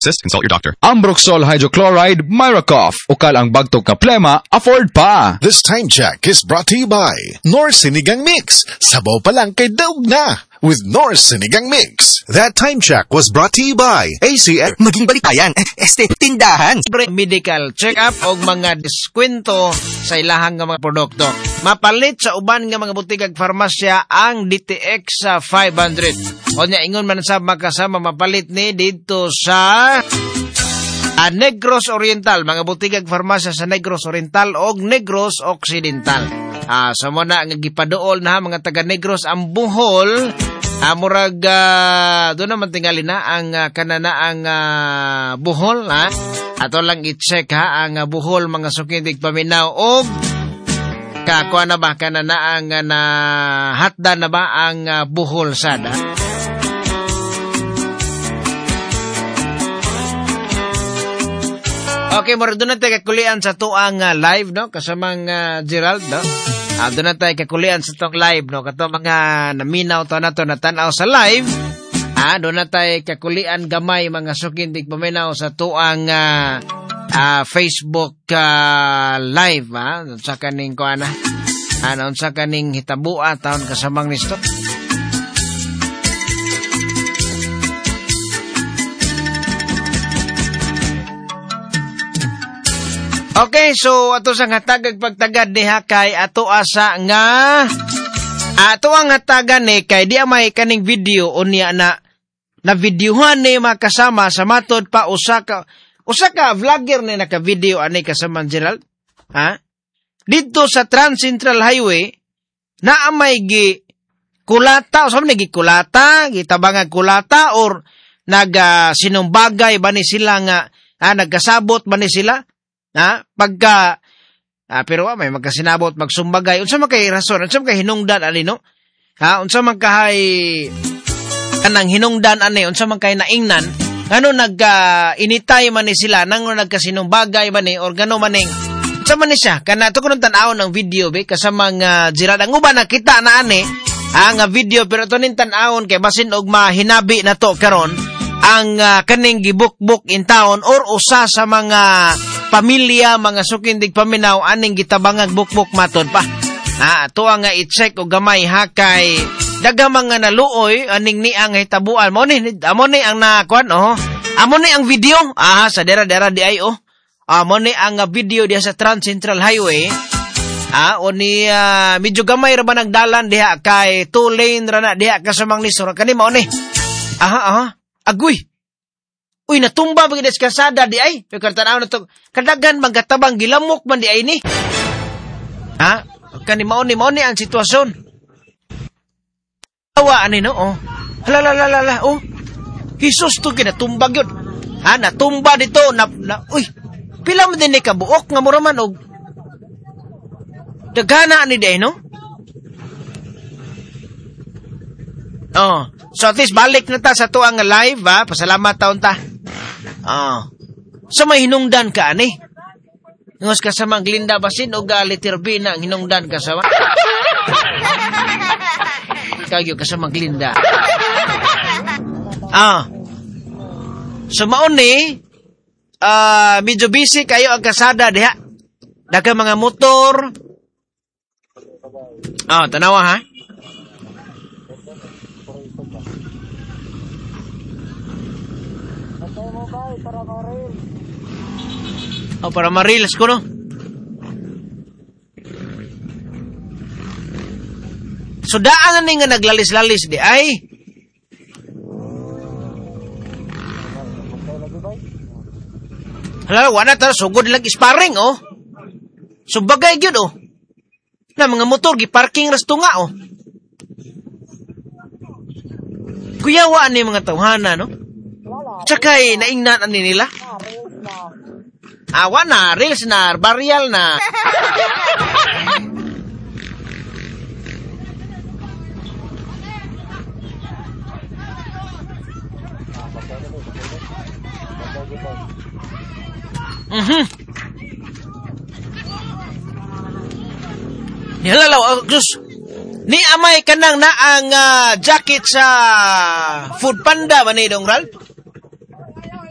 Consult your doctor. Ambroxol Hydrochloride Myracoff. Ukal ang bagtok nga plema, afford pa. This time check is brought to you by Knorr Sinigang Mix. Sabaw pa lang kay daog na with Knorr Sinigang Mix. That time check was brought to you by ACF. Maging balitayan, este, tindahan. Medical check-up o mga diskwento sa ilahang nga mga produkto. Mapalit sa uban nga mga butik ag farmasya ang DTX sa 500. O nya ingon man sa makasama mapalit ni didto sa Negros Oriental, mga butik ag farmasya sa Negros Oriental og Negros Occidental. So mo na nga gipaduol na mga taga Negros ang Bohol. Murag doon naman tingali na ang kanana ang Bohol ha. Ato lang i-check ha ang Bohol mga sukindig paminaw og kakuha na ba kanana ang na hatda na ba ang Bohol sada. Okay, murag doon na tayo kakulian sa tuang live no kasamang Gerald no. Doon na tayo kakulian sa tuang live no kato mga naminaw to na to natanaw sa live. Doon na tayo kakulian gamay mga sukindig paminaw sa tuang Facebook live ha. Unsa kaning kuana? Unsa kaning hitabua taon kasamang nisto? Okay, so ato sang hatagag pagtagad diha kay ato asa nga ato ang hatagan ni kay di may kaning video unya na na videohan ni makasama sa matod pa usa ka vlogger ni naka-video ani kasama Gerald ha didto sa Trans Central Highway na may gi kulata usa man gi kulata gitabangag kulata or naga sinumbagay ba ni sila nga nagkasabot ba ni sila. Ha? Pagka pero may magkasinabot magsumbagay unsa man kay rason unsa man kay hinungdan ani no ha unsa man kahay kanang hinungdan ani unsa man kay naingnan ngano nagka initay man ni sila nang nagkasinumbagay man ni or gano maning unsa man ni siya kana to kuno tan-awon ang video be kasamang Gerald ang uban nakita na ani nga video pero to ning tan-awon kay basin og mahinabi na to karon ang kaning gibukbuk in town or usa sa mga pamilya mga sukindig paminaw aning gitabangag bukbuk matod pa. Ato ang i-check og gamay ha kay daghang mga naluoy aning niang hitabuan. Mo ni amo ni ang nakuan oh. Amo ni ang video sa dera-dera di ay oh. Amo ni ang video diha sa Trans Central Highway. O ni medyo gamay ra ba nagdalan diha kay two lane ra na diha kasamang nisor kani mao ni. Aha. Agoy. Uy, natumba ba gid sa kasada di ay? Pero tan-aw na to. Kadagan magkatabang gilamok man di ay ni. Ha? Kani mao ni ang sitwasyon. Awa ani no oh. Hala la la la oh. Jesus to kinatumbag yun. Ha, natumba dito na uy. Pila man din ni kabuok nga mura man og dagana ani di ay no? Oh, so at least balik na ta sa tuang live ha. Pasalamat taon ta. So may hinungdan ka ani. Ngos ka sa mga Glinda basin o letter B na ang hinungdan ka sa kagyo ka sa mga Glinda. So maon ni medyo busy kayo ang kasada diha. Daghang mga motor. Tanawa ha. Oh, para ma-reels ko, no? So, daan na ni nga naglalis-lalis di ay. Hala, wala ta, sugod lang sparring, oh. So, bagay gyud, oh. Na mga motor, gi-parking rasto nga, oh. Kuyawaan ni mga tawhana, no? Tsakay, naingnan ani nila. Awa na, reels na, barial na. Nihalalaw, Diyos. Ni amay kanang na ang jacket sa Food Panda ba ni Dong Ralph?